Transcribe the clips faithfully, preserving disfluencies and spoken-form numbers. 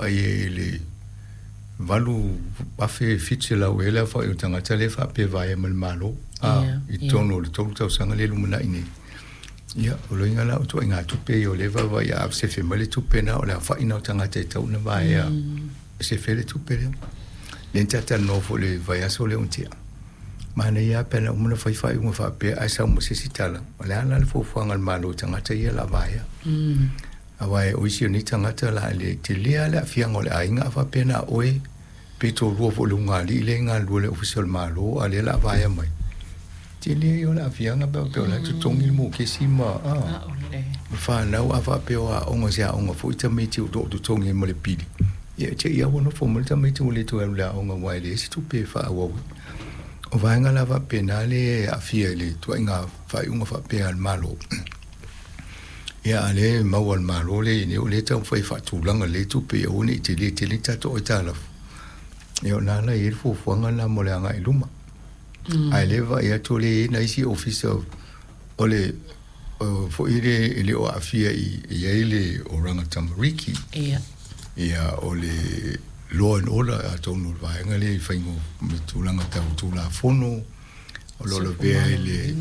vaai i le valu afe fitu selau ea le aofa'i o tagata lea e faapea vaea ma le Malo a i totonu o le tolu tausaga lea e lumana'i nei. Ia, o loiga la o ituaiga tupe ia o lea e vaavaai a sefe mai le tupe lena o le aofa'i lena o tagata e tatau ona vaea e sefe ai le tupe lea. Lea na talatalanoa foi i le vaiaso lea ua tea, manaia lava pe ana uma ona fai faaiuga faapea ae sau ma se isi tala, o le a la le fuafuaga a le Malo i tagata ia o le a vaea. Aua o isi o nei tagata la le tele lava le aafiaga o le aiga a faapea na o oe pe toalua foi o le ulugalii lea e galulue i le Ofisa o le Malo a o lea o le a vaea mai. Tele ia o le aafiaga pe a faapea o la e totogi le mokesi ma ma fanau a faapea o aoga se aoga foi tamaiti o lo o totogi ai ma le pili, ia e te i lava ua nofo mai le tamaiti ua le toe alu i le aoga aua e leai se tupe e faaauau ai. O vaega la faapena lea e aafia i le ituaiga faaiuga faapea a le Malo. Ia a o lea e maua e le Malo lea o lea e taumafai e faatulaga lelei tupe ia aua ne i tele tele ni tatou aitalafu. Ia o lena la e i ai le fuafuaga lena mo le agai i luma. Ae o lea e vaai atu o lea e i ai nai isi ofisa o le foi lea e le o aafia i ai le Oranga Tamariki. Ia. Ia o le Law and Order atonu o le vaega lea i faiga o tulaga tau Tulafono o lo o lavea ai le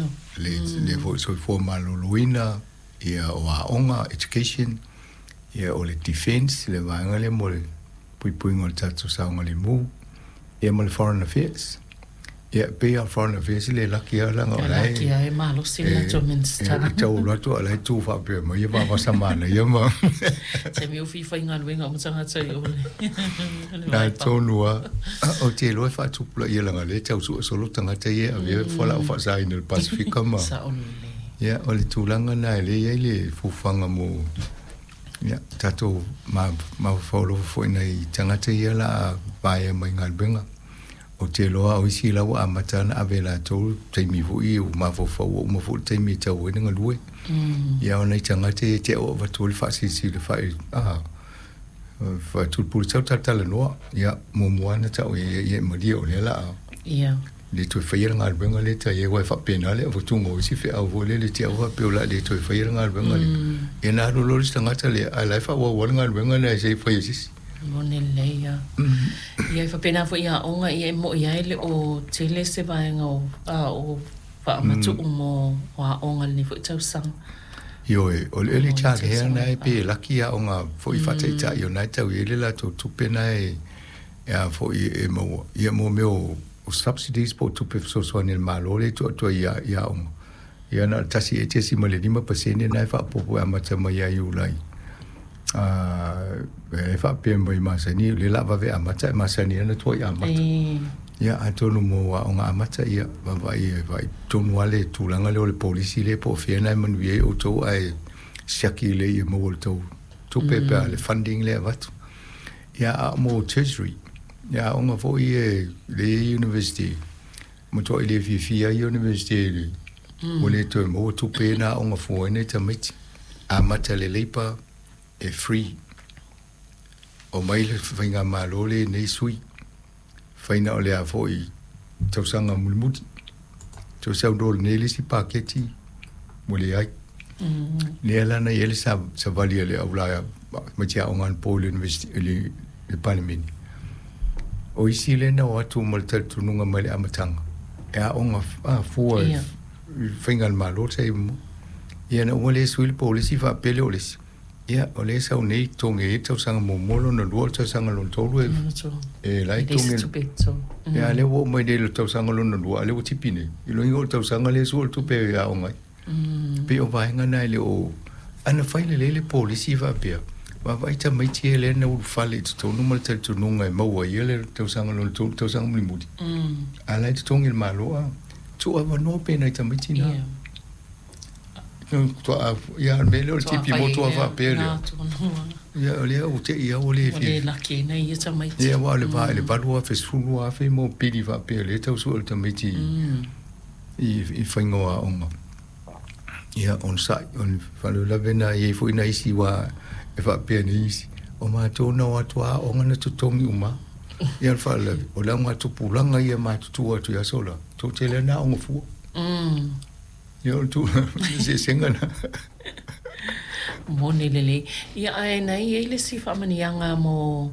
le foi soifua maloloina, ia o aoga, education, ia o le defense, le vaega lea mo le puipuiga o le tatou saogalemu, ia ma le foreign affairs. Ia e pei lava o le foreign affairs e le laki lava leaga o la e laki lava e malosi le latou Minisita. E tau alu atu a o la e tu faapea mai ia vavasa manaia ma taimi o fia faigaluega uma tagata i o le Na tonu lava. Ou te iloa e faatupulaia leaga o lea e tau sue solo tagata ia e avea fualaau faasaina i le Pasefika ma Sao lelei. Ia, o le tulaga lena e lea e i ai le fuafuaga mo ia tatou mafaufau alofa foi i nai tagata ia o le a vaea mai galuega. Ou te iloa o isi la ua amata ona ave e latou taimi foi ua mafaufau ua uma foi le taimi e tau ai le galue. Ia o nai tagata ia te au avatu ai le faasilisili faai a faatulipuli sau talatalanoa. Ia muamua lava ona tau i ai ia e malie o lea o le a Ia. le toe faia le galuega lea ta i ai aua e faapena le avatuga o isi feau foi lele te au faapea o le a le toe faia le galuega lea. Ia ona alu loa le isi tagata lea ae o la e faaauau lava le galuega lea se i fai e se isi. Moni lelei lava. Ia e faapena foi i aoga, ia e mo'i lava e le o tele se vaega o o faamatuu mo aoga i lenei foi tausaga. Ioe, o le early child care lena e pei e laki aoga foi faataitai o lena e tau i ai le latou tupe lena e a foi e maua ia mo mea o subsidies po o tupe fesoasoani a le Malo lea e tuu atu ai i aoga. Ia na o le tasi ea tesima le lima pasene lena e faaopoopo e amata mai ia Iulai. E faapea mai masani, o lea o le a vave amata, e masani lava ona tuai amata. Ia atonu mo aoga amata, ia vaavaai vaai tonu lava le tulaga lea o le polisi lea po o fea lena e manuia ai outou ae siaki lelei ia maua le tou tupe pe a le funding lea e avatu. Ia a o mo tertiary, ia aoga foi ia lea e i ai University, matuai le fiafia ai University i le ua le toe maua tupe na aoga fua ai nai tamaiti. Amata le labour e free. Omai le faigamalo lenei sui, fai na o le a foi tausaga mulimuli. Toe sau loa lenei le isi paketi ua leai. Lea la na i ai le savali a le aula tamaiti aoga anapo i le University i le Palemene. O isi lea na o atu ma le talitonuga mai le amataga e aoga fua i faiga a le Malo sa i ai muamua. Ia ina ua le sui le polisi faapea lea o le isi, ia o lea e sau nei totogi ai le tausaga muamua, lona lua, o le tausaga lona tolu e e la e totogi. Ia a o lea ua oo mai nei i le tausaga lona lua, a o lea ua tipi nei. I lona uiga o le tausaga lea e sua le tupe e aoga ai. E pei o vaega na e le o... Ana fai lelei le polisi faapea, vaavaai tamaiti ia lea na ulufale i totonu ma le talitonuga e maua ai ia le tausaga lona tolu, tausaga mulimuli, a o la e totogi e le Malo, a tuu avanoa pea i nai tamaiti na. Ia, o le mea lea o le tipi motu lava faapea lea. Ia, o lea ua te i lava ua le Ua le laki ai nai ia tamaiti. Ia, aua o le va i le valu afe, sefulu afe mo pili faapea lea e tau sue o le tamaiti i i faiga o aoga. Ia, onosai, o le faalavelave lena e i ai foi nai isi aua e faapea nei isi, o matou na o atu lava aoga na totogi uma. Ia, o le faalavelave, o le augatupulaga ia matutua atu i aso la, tou te iloa na aoga fua. Ia o le tulaga, o le eseesega lena. Moni lelei. Ia, ae na i ai le isi faamanuiaga mo